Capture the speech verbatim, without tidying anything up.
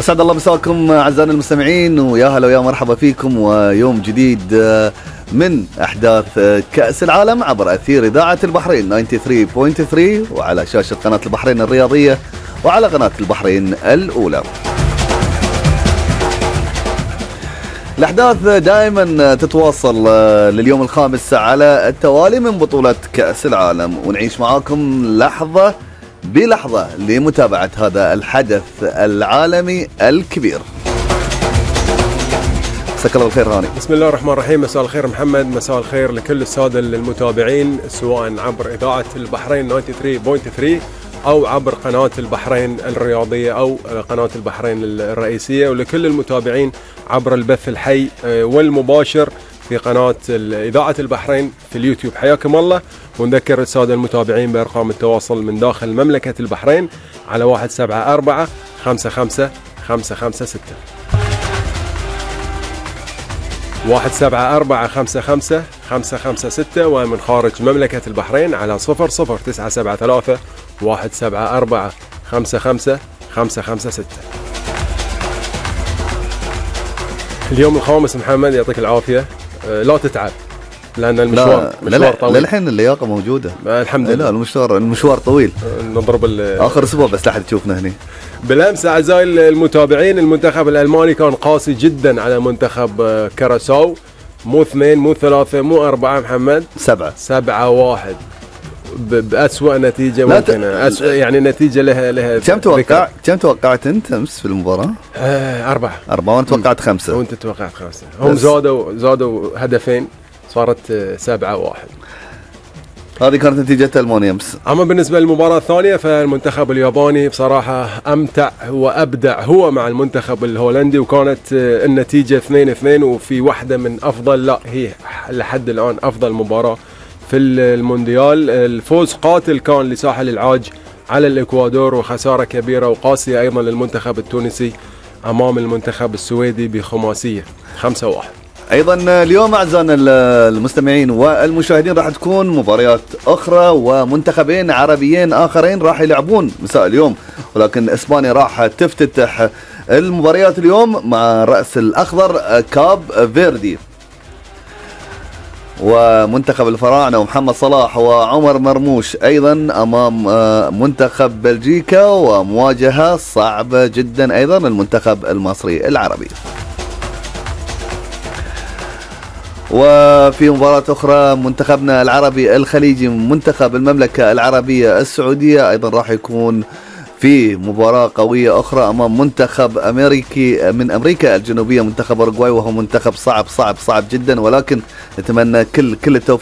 أسعد الله مساكم أعزائنا المستمعين، ويا هلا ويا مرحبا فيكم ويوم جديد من أحداث كأس العالم عبر أثير إذاعة البحرين تسعة وثمانين فاصلة ثلاثة وعلى شاشة قناة البحرين الرياضية وعلى قناة البحرين الأولى. الأحداث دائما تتواصل لليوم الخامس على التوالي من بطولة كأس العالم، ونعيش معاكم لحظة بلحظة لمتابعة هذا الحدث العالمي الكبير. مساك الله بالخير هاني. بسم الله الرحمن الرحيم. مساء الخير محمد، مساء الخير لكل السادة المتابعين سواء عبر إذاعة البحرين تسعة وثمانين فاصلة ثلاثة أو عبر قناة البحرين الرياضية أو قناة البحرين الرئيسية، ولكل المتابعين عبر البث الحي والمباشر في قناة إذاعة البحرين في اليوتيوب. حياكم الله، ونذكر السادة المتابعين بأرقام التواصل من داخل مملكة البحرين على واحد سبعة أربعة خمسة خمسة خمسة خمسة ستة واحد سبعة أربعة خمسة خمسة خمسة خمسة ستة، ومن خارج مملكة البحرين على صفر صفر تسعة سبعة ثلاثة واحد سبعة أربعة خمسة خمسة خمسة خمسة ستة. اليوم الخامس محمد يعطيك العافية، لا تتعب لأن المشوار لا مشوار طويل. للحين اللياقة موجودة الحمد لله. لا المشوار المشوار طويل، نضرب آخر أسبوع بس لحد تشوفنا هنا. بالأمس أعزائي المتابعين المنتخب الألماني كان قاسي جدا على منتخب كراساو، مو اثنين مو ثلاثة مو أربعة محمد، سبعة سبعة واحد بأسوأ نتيجة ممكنة. أسوأ يعني نتيجة لها لها كم توقع كم توقعت أنت أمس في المباراة؟ آه أربعة أربعة وأنت توقعت خمسة وأنت توقعت خمسة. هم زادوا زادوا هدفين صارت سبعة واحد. هذه كانت نتيجة ألمانيا أمس. أما بالنسبة للمباراة الثانية فالمنتخب الياباني بصراحة أمتع وأبدع هو مع المنتخب الهولندي، وكانت النتيجة اثنين اثنين، وفي واحدة من أفضل لا هي لحد الآن أفضل مباراة في المونديال. الفوز قاتل كان لساحل العاج على الإكوادور، وخسارة كبيرة وقاسية أيضا للمنتخب التونسي أمام المنتخب السويدي بخماسية خمسة واحد. ايضا اليوم اعزائنا المستمعين والمشاهدين راح تكون مباريات اخرى ومنتخبين عربيين اخرين راح يلعبون مساء اليوم، ولكن اسبانيا راح تفتتح المباريات اليوم مع رأس الاخضر كاب فيردي، ومنتخب الفراعنة ومحمد صلاح وعمر مرموش ايضا امام منتخب بلجيكا، ومواجهة صعبة جدا ايضا المنتخب المصري العربي. وفي مباراة أخرى منتخبنا العربي الخليجي منتخب المملكة العربية السعودية أيضا راح يكون في مباراة قوية أخرى أمام منتخب أمريكي من أمريكا الجنوبية منتخب أوروغواي، وهو منتخب صعب صعب صعب جدا، ولكن نتمنى كل كل التوفيق